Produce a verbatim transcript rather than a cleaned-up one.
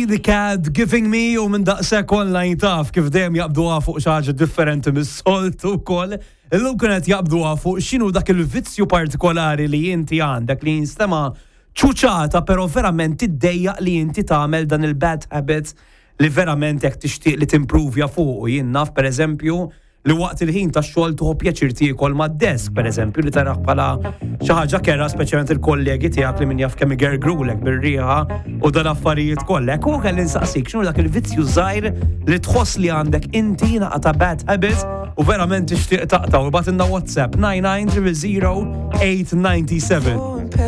The Cat Giving Me u minn daqshekk online taf kif dejjem jaqbduha fuq xi ħaġa differenti mis-soltu wkoll. Illum kienet jaqbduha fuq x'inhu dak il-vizzju partikolari li inti għandek li jinstema' ċuċata, però verament tiddejjaq li inti tagħmel dan il-bad habit li verament jekk tixtieq li timprovja fuq. U jien naf, pereżempju, li waqt il-ħin ta' xogħol tieħu pjaċir tiekol mad-desk, pereżempju, li taraħ bħala xi ħaġa kerha, speċjalment il-kollegi tiegħek li min jaf kemm igergrulek bir-riħa u dan affarijiet kollha. U kelli nsaqsik x'inhu dak il-vizzju żgħir li tħoss li għandek inti naqa ta' bad habit u verament tixtieq taqta', u ibgħatilna WhatsApp nine nine zero zero eight nine seven.